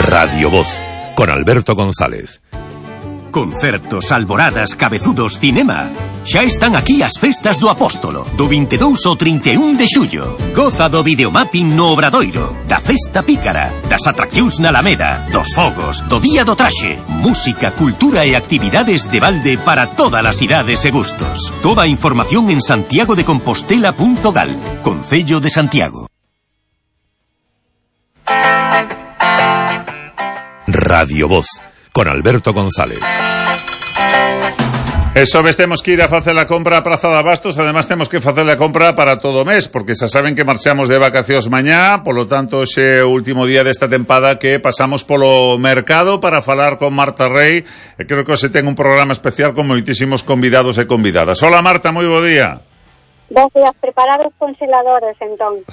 Radio Voz, con Alberto González. Concertos, alboradas, cabezudos, cinema. Xa están aquí as festas do Apóstolo, do 22 ao 31 de xullo. Goza do videomapping no Obradoiro, da festa pícara, das atraccións na Alameda, dos fogos, do día do traxe, música, cultura e actividades de balde para todas as idades e gustos. Toda a información en santiagodecompostela.gal, Concello de Santiago. Radio Voz, con Alberto González. Eso ves, temos que ir a facer a compra a Praza de Abastos. Además temos que facer a compra para todo o mes, porque xa saben que marchamos de vacacións mañá. Polo tanto, xe o último día desta tempada que pasamos polo mercado para falar con Marta Rey. E creo que hoxe ten un programa especial con moitísimos convidados e convidadas. Hola Marta, moi bo día. Bos días, preparar os congeladores, entón.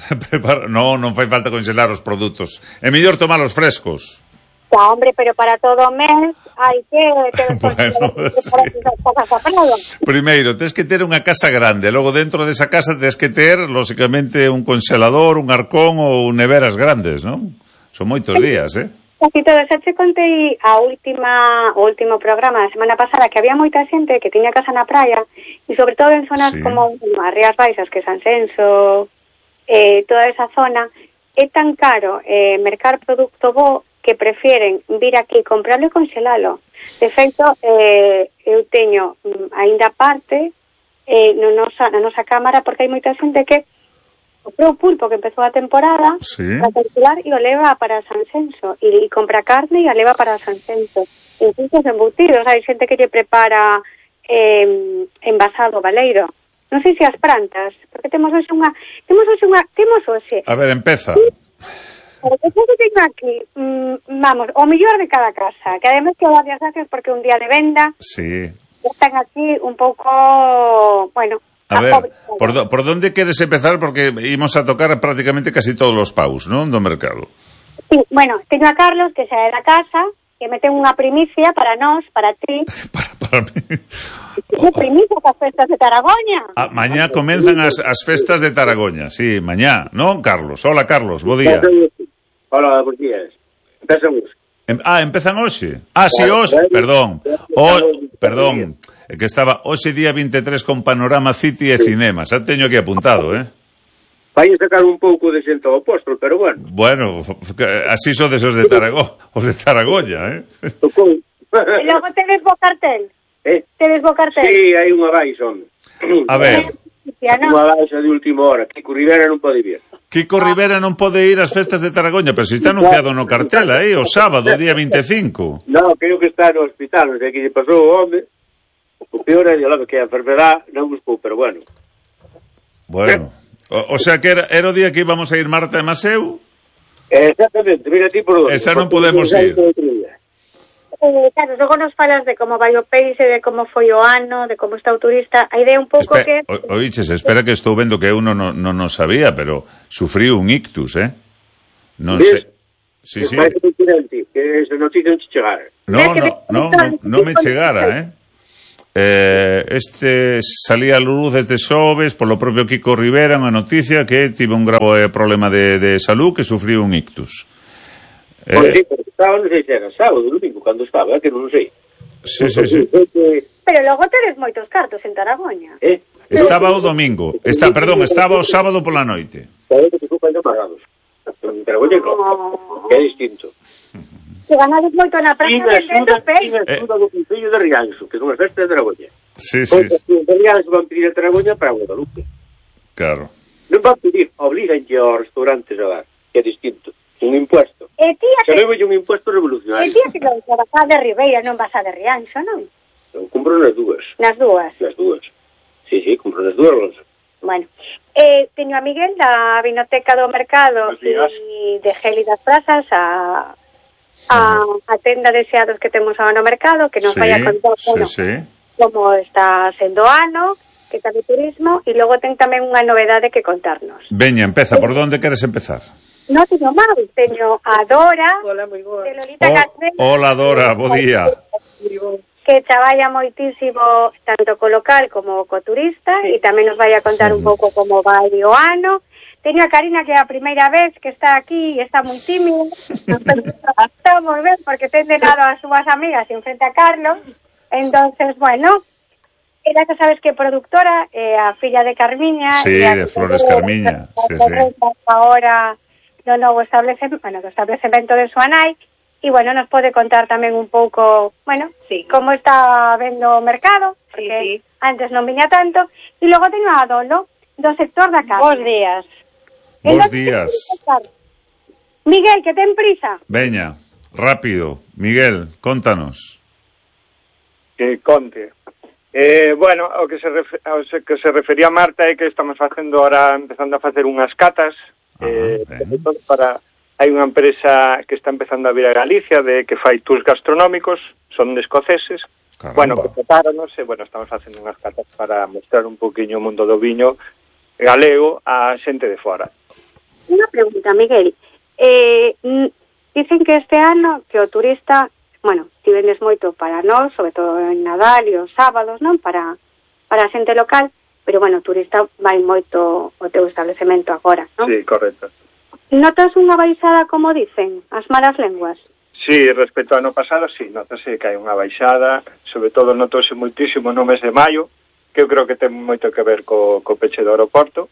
Non fai falta congelar os produtos. É mellor tomar os frescos. Ya, hombre, pero para todo o mes hai que ter Bueno, sí. Primeiro, tens que ter unha casa grande. Logo, dentro desa casa, tens que ter, lógicamente, un congelador, un arcón ou neveras grandes, non? Son moitos días, Así todo, xa te contei o último programa da semana pasada que había moita xente que tiña casa na praia e sobre todo en zonas como as Rías Baixas, que San Senso, toda esa zona, é tan caro mercar produto bo que prefieren vir aquí, comprarlo e congelalo. De feito, eu teño aínda parte na nosa cámara, porque hai moita xente que comprou pulpo que empezou a temporada para congelar e o leva para San Senso, e compra carne e a leva para San Senso. Incluso os embutidos, hai xente que lle prepara envasado baleiro. Non sei se as plantas, porque temos hoxe... A ver, empeza. Porque eu teño aquí, vamos, o mellor de cada casa, que además que o varias gracias porque un día de venda están aquí un pouco, bueno... A ver, por donde queres empezar? Porque imos a tocar prácticamente casi todos os paus, non? Do mercado. Sí, bueno, teño a Carlos, que xa é da casa, que me ten unha primicia para nós, para ti. para mí. Unha primicia para as festas de Taragoña. Mañá comenzan as festas de Taragoña, sí, mañá, non, Carlos? Hola, Carlos, bo día. Hola, bons días. Empezan hoxe. Empezan hoxe? Sí, hoxe, perdón. Perdón, é que estaba hoxe día 23 con Panorama City e Cinema. Xa teño aquí apuntado, Vai sacar un pouco de xente ao Apóstol, pero bueno. Bueno, así sodes os de Taragoña, Tocou. E logo tedes bo cartel. Tedes bo cartel. Sí, hai unha baixa, home. A ver. Unha baixa de última hora. Kiko Rivera non pode vir. Kiko Rivera non pode ir ás festas de Taragoña, pero si está anunciado no cartel aí, o sábado, día 25. Non, creo que está no hospital, non sei que lle pasou o home. O peor é que a enfermedad non buscou, pero bueno. Bueno, o sea que era o día que íbamos a ir Marta e Maseu? Exactamente, mira ti por onde. Esa non podemos ir. Claro, logo nos falas de como vai o peixe, de como foi o ano, de como está o turista. A idea un pouco que... Oiches, espera que estou vendo que eu non sabía, pero sufrí un ictus, Non sei... Sí. Que esa noticia non te chegara. Non me chegara, Este salía a luz desde xoves polo propio Kiko Rivera unha noticia que tive un grave problema de salud, que sufrí un ictus. Porque estaba, non sei se era sábado, domingo, cando estaba, que non sei. Sí. Pero logo tedes moitos cartos en Taragoña. Estaba o domingo. Estaba o sábado pola noite. Sabe que te ocupan de pagados. En Taragoña, claro, que é distinto. Que ganades moito na praia vendendo peixe. E a do Concello de Rianxo, que son as festas de Taragoña. Sí. De Rianxo van pedir a Taragoña para Guadalupe. Claro. Non van pedir, obligan aos restaurantes a dar, que é distinto. Un impuesto. Sabemos un impuesto revolucionario. E tía que non vas a de Ribeira, non vas a de Rianxo, non? Eu compro nas dúas. Nas dúas? Nas dúas. Sí, compro nas dúas. Bueno, teño a Miguel da Vinoteca do Mercado e de Gélidas Prazas a tenda de xeados que temos agora no mercado, que nos vai a contar como está sendo o ano, que está de turismo, e logo ten tamén unha novedade que contarnos. Veña, empeza, por onde queres empezar? Non teño máis, teño a Dora. Hola, moi boa. De Lolita Castelo. Hola, Dora, bo día. Que traballa moitísimo tanto co local como co turista e tamén nos vai a contar un pouco como vai o ano. teño a Karina, que é a primeira vez que está aquí e está moi tímida. Estamos ben, porque ten denado as súas amigas en frente a Carlos. Entonces, bueno, ela que sabes que é productora, a filla de Carmiña. Sí, de Flores Carmiña. Sí. Ahora no novo establecemento de súa nai. E, bueno, nos pode contar tamén un pouco, bueno, como está vendo o mercado, porque antes non viña tanto. E logo teño a Adolo, do sector da casa. Bos días. Bos días. Miguel, que ten prisa. Veña, rápido. Miguel, contanos. Que conte. Bueno, o que se refería a Marta é que estamos facendo ahora, empezando a facer unhas catas, hai unha empresa que está empezando a vir a Galicia que fai tours gastronómicos, son de escoceses. Caramba. Bueno, que prepáranos e, bueno, estamos facendo unhas catas para mostrar un poquinho o mundo do viño galego a xente de fora. Unha pregunta, Miguel. Dicen que este ano que o turista, bueno, ti vendes moito para nós, sobre todo en Nadal e os sábados, non? Para a xente local, pero, bueno, o turista vai moito ao teu establecemento agora, non? Sí, correcto. Notas unha baixada, como dicen, as malas lenguas? Sí, respecto ao ano pasado, sí, notase que hai unha baixada, sobre todo notose moitísimo no mes de maio, que eu creo que ten moito que ver co peche do aeroporto,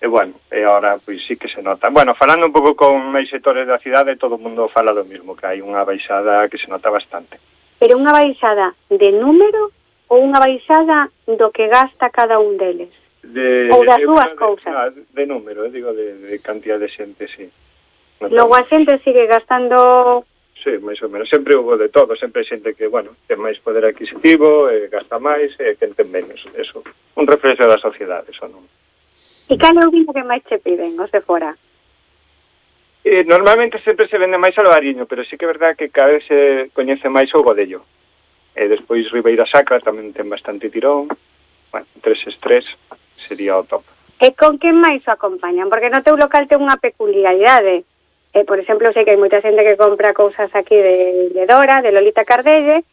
e, bueno, e agora, pois sí que se nota. Bueno, falando un pouco con máis sectores da cidade, todo o mundo fala do mismo, que hai unha baixada que se nota bastante. Pero unha baixada de número ou unha baixada do que gasta cada un deles? Ou das dúas cousas? De número, digo, de cantidad de xente, sí. Logo a xente sigue gastando... Sí, máis ou menos. Sempre hubo de todo, sempre xente que, bueno, ten máis poder adquisitivo, gasta máis, e que ten menos. Eso, un reflexo da sociedade, eso non. E cal é o vino que máis che piden, os de fora? Normalmente sempre se vende máis albariño, pero sí que é verdad que cada vez se coñece máis o godello. E despois Ribeira Sacra tamén ten bastante tirón. Bueno, 3 sería o top. E con que máis o acompañan? Porque no teu local ten unha peculiaridade. Por exemplo, sei que hai moita xente que compra cousas aquí de Dora, de Lolita Cardelle,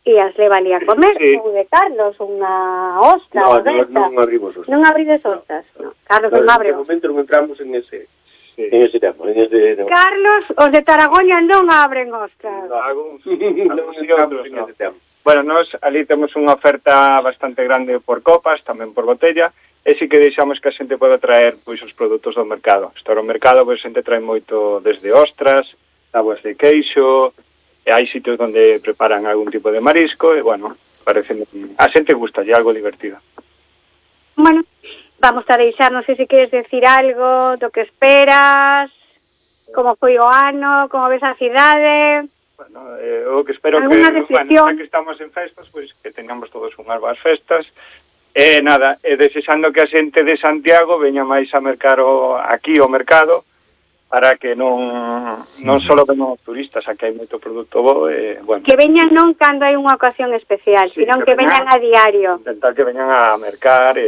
e as leva ali a comer, ou de Carlos, unha ostra, ou desta. Non abrimos ostas. Non abrides ostas. No. Carlos non abre ostas. De momento non entramos en ese tema. Carlos, os de Taragoña non abren ostras. Bueno, nós ali temos unha oferta bastante grande por copas, tamén por botella, e si que deixamos que a xente poda traer pois os produtos do mercado. Estar ao mercado, pois a xente trae moito desde ostras, tábuas de queixo, e hai sitios onde preparan algún tipo de marisco, e, bueno, parece a xente gusta, é algo divertido. Bueno, vamos a deixar, non sei se queres decir algo do que esperas, como foi o ano, como ves a cidade... Bueno, o que espero que, bueno, que estamos en festas, pois que tengamos todos unhas boas festas. Nada, desexando que a xente de Santiago veña máis a mercar aquí ao mercado, para que non só veñan os turistas, aquí hai moito produto bo, bueno. Que veñan non cando hai unha ocasión especial, sí, sino que veñan a diario. Intentar que veñan a mercar,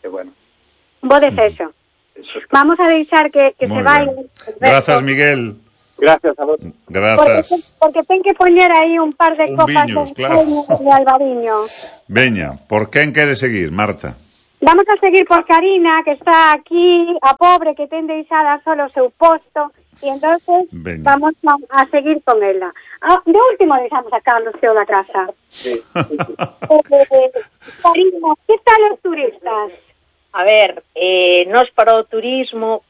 bueno. Bo desexo. Vamos a deixar que se vai. Grazas, Miguel. Gracias a vos. Grazas. Porque ten que poñer aí un par de copas viños, claro, de albariño. Veña, por quen quere seguir, Marta? Vamos a seguir por Karina, que está aquí, a pobre que ten deixada solo o seu posto, e entonces vamos a seguir con ela. De último deixamos a Carlos, teo da casa. Sí. Karina, que tal os turistas? A ver, nos para o turismo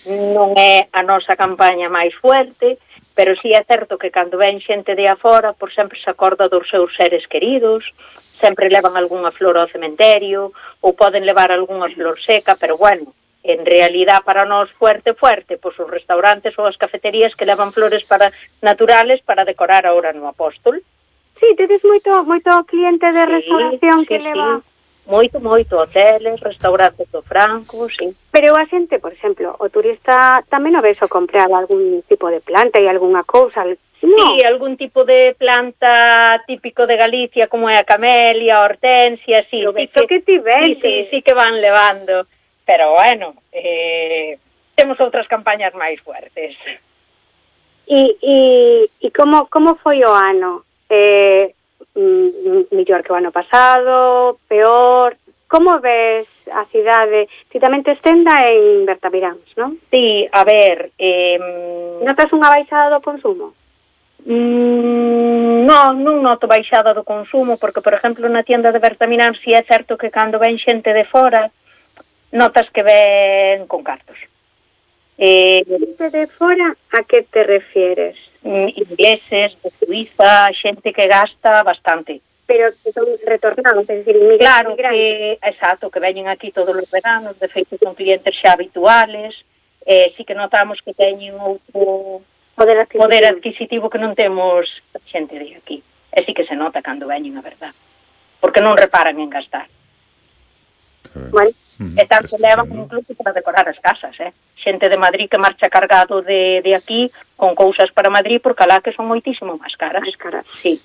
non é a nosa campaña máis fuerte, pero sí é certo que cando ven xente de afora, por sempre se acorda dos seus seres queridos, sempre levan algunha flor ao cementerio, ou poden levar algunha flor seca, pero bueno, en realidad para nós fuerte, pois os restaurantes ou as cafeterías que levan flores naturales para decorar ahora no Apóstol. Sí, tedes moito cliente de restauración que leva... Moito, hoteles, restaurantes do Franco, sí. Pero a xente, por exemplo, o turista tamén o ves o comprar algún tipo de planta e algunha cousa, no? Sí, algún tipo de planta típico de Galicia, como é a camelia, a hortensia, sí. Que ti ves. Sí que van levando. Pero, bueno, temos outras campañas máis fuertes. E como foi o ano? Mellor que o ano pasado, peor? Como ves a cidade? Ti tamén tes tenda en Bertamiráns, non? Sí, a ver... Notas unha baixada do consumo? Non noto baixada do consumo, porque, por exemplo, na tienda de Bertamiráns si é certo que cando ven xente de fora, notas que ven con cartos. Xente de fora, a que te refieres? Ingleses, de Suiza, xente que gasta bastante. Pero que son retornados, é dicir, inmigrantes. Claro, exacto, que veñen aquí todos os veranos, de feito son clientes xa habituales, sí que notamos que teñen outro poder adquisitivo que non temos xente de aquí. E sí que se nota cando veñen, a verdad. Porque non reparan en gastar. Bueno, e tanto levan incluso para decorar as casas, xente de Madrid que marcha cargado de aquí con cousas para Madrid, porque alá que son moitísimo máis caras. Máis caras. Sí.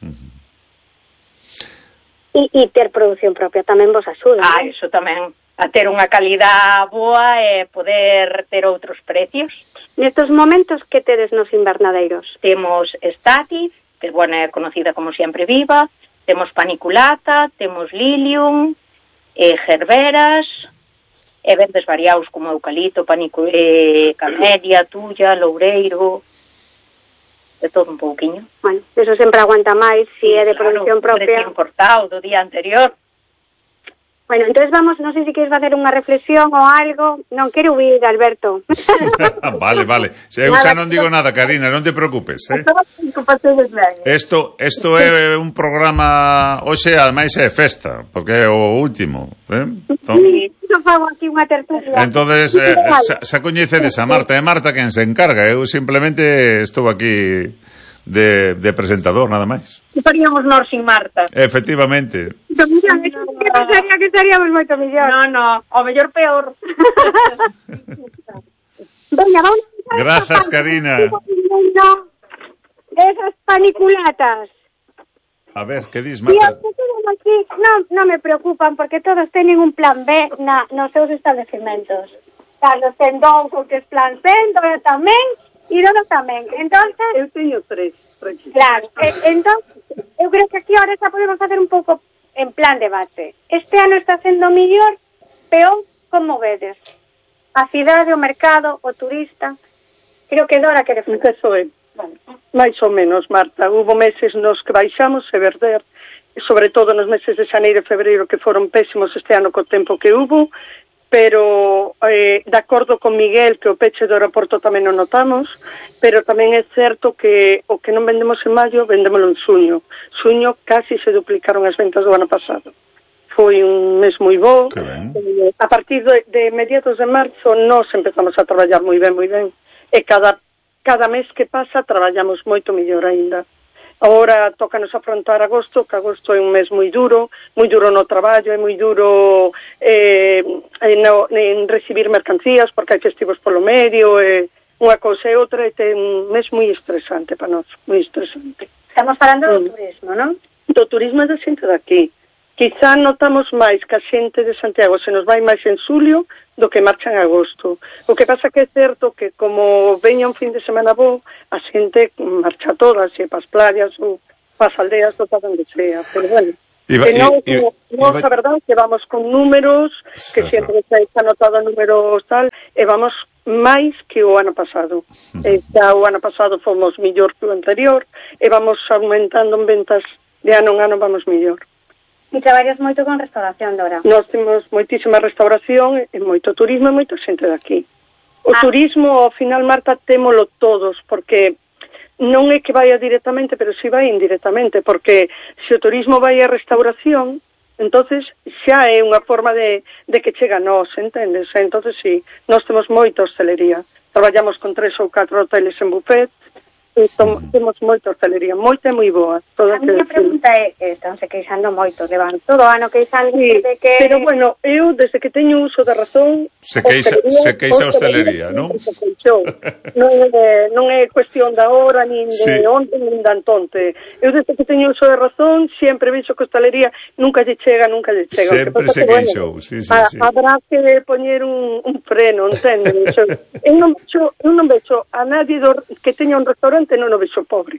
E ter produción propia tamén vos axuda. Eso tamén, a ter unha calidad boa e poder ter outros precios. Nestos momentos, que tedes nos invernadeiros? Temos Statif, que é conocida como Siempre Viva, temos Paniculata, temos Lilium, Gerberas, e verdes variados como eucalipto, camelia, tulla, loureiro... de todo un pouquiño. Bueno, eso sempre aguanta máis, si é de producción propia. Recién cortado do día anterior. Bueno, entonces vamos, non sei se queres facer unha reflexión ou algo. Non quero huir, Alberto. Vale. Eu xa non digo nada, Karina, non te preocupes, Isto é un programa, hoxe ademais é festa, porque é o último, fago aquí unha tertulia. Entonces, xa coñecedes a Marta, é Marta quen se encarga, eu simplemente estou aquí de presentador, nada máis. Que faríamos nós sin Marta? Efectivamente. Que estaríamos moito mellor. No, ao mellor peor. Veña, vamos. Grazas, Karina. Esas paniculatas. A ver, que dis, Marta? Non me preocupan, porque todos teñen un plan B nos seus establecementos. Carlos ten dous ou tres plans B, Dora tamén, e Dora tamén. Entonces, eu teño tres. Claro, entonces, eu creo que aquí ahora xa podemos facer un pouco en plan debate. Este ano está sendo mellor, peor, como vedes? A cidade, o mercado, o turista. Creo que Dora quere facer. Eso é. Mais ou menos, Marta. Hubo meses nos que baixamos e verder, sobre todo nos meses de xaneiro e febreiro, que foron pésimos este ano co tempo que hubo, pero de acordo con Miguel que o peche do aeroporto tamén o notamos, pero tamén é certo que o que non vendemos en maio, vendémolo en xuño. Xuño casi se duplicaron as ventas do ano pasado. Foi un mes moi bo. A partir de mediados de marzo nós empezamos a traballar moi ben, e cada mes que pasa traballamos moito mellor aínda. Agora tócanos afrontar agosto, que agosto é un mes moi duro no traballo, é moi duro en recibir mercancías, porque hai festivos polo medio, unha cousa e outra, é un mes moi estresante para nós, moi estresante. Estamos falando do turismo, non? Do turismo da xente daqui. Quizá notamos máis que a xente de Santiago se nos vai máis en xulio do que marcha en agosto. O que pasa que é certo que como veña un fin de semana bo, a xente marcha todas, se pas playas ou pas aldeas ou para onde sea. Pero bueno, a verdade que vamos con números, que sempre se ha notado números tal, e vamos máis que o ano pasado. Xa o ano pasado fomos millor que o anterior, e vamos aumentando en ventas de ano en ano, vamos millor. E traballas moito con restauración, Dora? Nós temos moitísima restauración e moito turismo e moita xente daqui. O turismo, ao final, Marta, témolo todos, porque non é que vaya directamente, pero si vai indirectamente, porque se o turismo vai a restauración, entonces xa é unha forma de que chega a nós, entendes? Entonces, sí, nós temos moita hostelería. Traballamos con 3 ou 4 hoteles en buffet, e temos moita hostelería, moita e moi boa. A minha pregunta é, están se queixando moito, levan todo ano queixando de que... Pero bueno, eu desde que teño uso da razón... Se queixa a hostelería, non? Non é cuestión da hora, nin de onde, nin de antonte. Eu desde que teño uso da razón, sempre vexo que a hostelería nunca lle chega. Sempre se queixou, sí. Habrá que poñer un freno, entende? Eu non vexo a nadie que teña un restaurante, non o vexo pobre.